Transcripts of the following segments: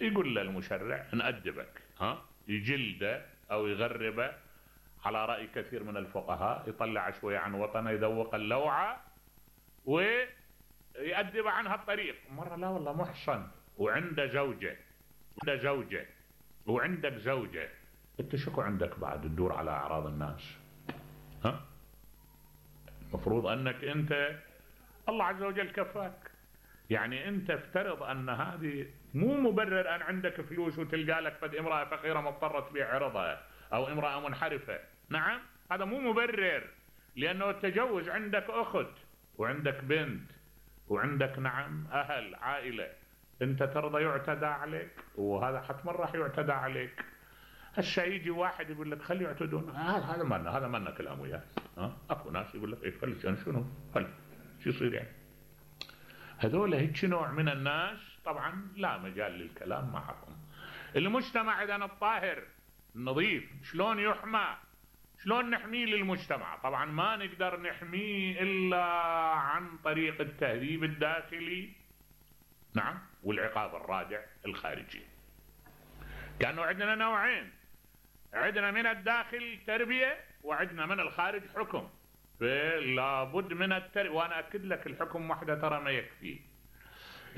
يقول له المشرع نأدبك، يجلده او يغربه على رأي كثير من الفقهاء، يطلع شوية عن وطنه، يذوق اللوعة ويأدب عنها الطريق. مرة لا والله محصن وعنده زوجة وعندك زوجة، انت شكو عندك بعد تدور على اعراض الناس؟ المفروض انك انت الله عز وجل كفاك. يعني انت افترض ان هذه مو مبرر ان عندك فلوس وتلقى لك فد امرأة فقيرة مضطرة تبيع عرضها او امرأة منحرفة. نعم هذا مو مبرر، لانه التجوز عندك اخت وعندك بنت وعندك نعم اهل عائلة، انت ترضى يعتدى عليك؟ وهذا حتما راح يعتدى عليك. هسه يجي واحد يقول لك خلي يعتدون، هذا مالنا كلام وياه. اكو ناس يقول لك ايه خلي شنو شو يصير يعني؟ هذول هيك نوع من الناس طبعا لا مجال للكلام معكم. المجتمع اذا الطاهر النظيف شلون يحمى؟ شلون نحميه للمجتمع؟ طبعا ما نقدر نحميه الا عن طريق التهذيب الداخلي، نعم، والعقاب الرادع الخارجي. كانوا عندنا نوعين، عندنا من الداخل تربية وعندنا من الخارج حكم. فلابد من التربية، وانا اكد لك الحكم وحده ترى ما يكفي،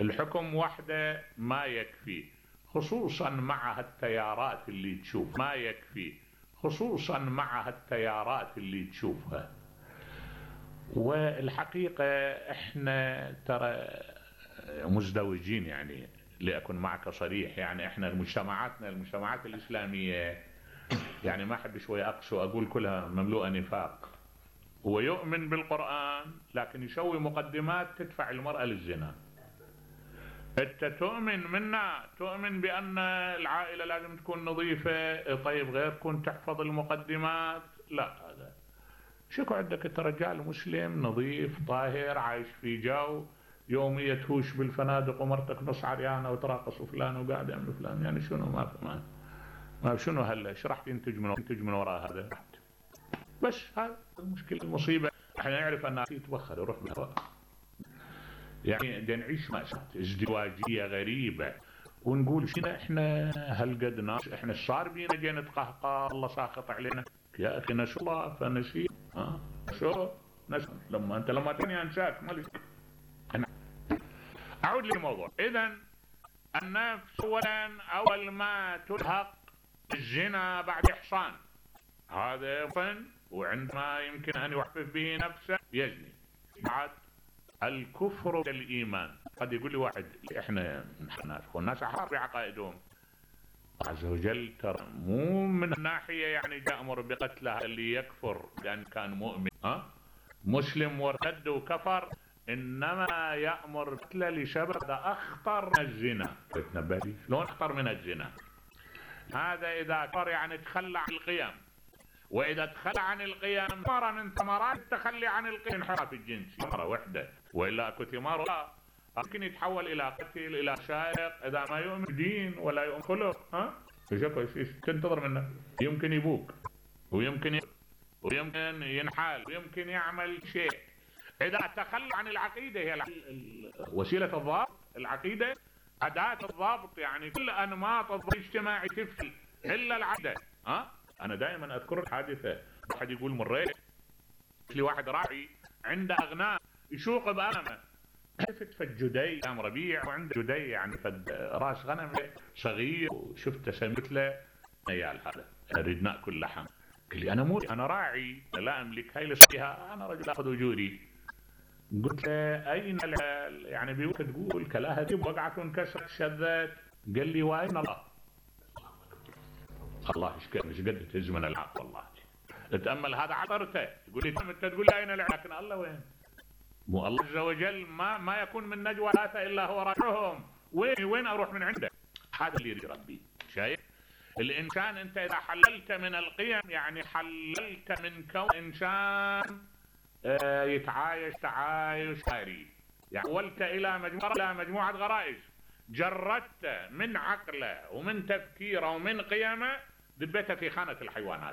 الحكم وحده ما يكفي، خصوصا مع التيارات اللي تشوف ما يكفي، خصوصا مع التيارات اللي تشوفها. والحقيقة احنا ترى مزدوجين، يعني لأكون معك صريح، يعني احنا المجتمعات الإسلامية يعني ما أحب شوي أقسو أقول كلها مملوءة نفاق. هو يؤمن بالقرآن لكن يسوي مقدمات تدفع المرأة للزنا. انت تؤمن بأن العائلة لازم تكون نظيفة، طيب غير تكون تحفظ المقدمات؟ لا، هذا شكو عندك انت رجال مسلم نظيف طاهر عايش في جو يومية تهوش بالفنادق ومرتك نص عريانة وتراقص فلان وقاعد يعمل فلان، يعني شنو ما شنو هلا ايش راح ينتج من وراء هذا؟ بس هذا المشكلة المصيبة. احنا نعرف ان يتبخر يروح بالهواء، يعني بدنا نعيش مأساة ازدواجية غريبة ونقول شنو احنا هالقد ناس، احنا صار بينا جاي نتقهقر الله ساخط علينا. يا اخي نسوا الله فنسي شو نسوا لما تاني انساك مالك. اعود للموضوع. اذا النفس اول ما تلحق الزنا بعد احصان هذا فن، وعندما يمكن ان يحفف به نفسه يزني. بعد الكفر بالايمان، قد يقول لي واحد احنا والناس احرار بعقائدهم، عز وجل ترى مو من الناحيه يعني يأمر بقتله اللي يكفر لان كان مؤمن مسلم وارتد وكفر، انما يأمر بقتله لسبب اخطر من الزنا. تنبه لي شلون اخطر من الزنا؟ هذا اذا كفر يعني تخلى عن القيم، واذا تخلى عن القيم ثمرة من ثمرات التخلي عن القيم انحراف الجنسي مرة واحدة، والا اكو ثمار ممكن يتحول الى قتل الى سارق اذا ما يؤمن دين ولا يؤمن خلق. ايش تنتظر منه؟ يمكن يبوك ويمكن ينحال ويمكن يعمل شيء. اذا تخلى عن العقيدة، هي وسيلة الضابط العقيدة، أداة الضابط، يعني كل انماط الضبط الاجتماعي تفشل الا العقيدة. انا دائما اذكر حادثة، واحد يقول مريت لي واحد راعي عنده اغنام يشوق بأغنامه، شفت فد جدي قام ربيع وعنده جدي يعني فد راس غنم صغير، وشفته سميت له عيال هذا اريد ناكل لحم. قال لي انا راعي لا املك هاي لصيها، انا رجل اخذ اجوري. قلت له اين يعني بيوك تقول كلاها وقعت وانكسرت شذت؟ قال لي واين الله ايش قد تزمن العقل. والله تأمل هذا عطرته، يقول لي انت تقول لي اين العقل، لكن الله وين؟ مو الله عز وجل ما يكون من نجوى ثلاثة الا هو راجعهم. وين اروح من عنده؟ هذا اللي يريد ربي. شايف الانسان انت اذا حللت من القيم، يعني حللت من كون انسان يتعايش تعايش خيري، يعني حولت الى مجموعة غرائز، جردت من عقله ومن تفكيره ومن قيمه دبيته في خانة الحيوانات.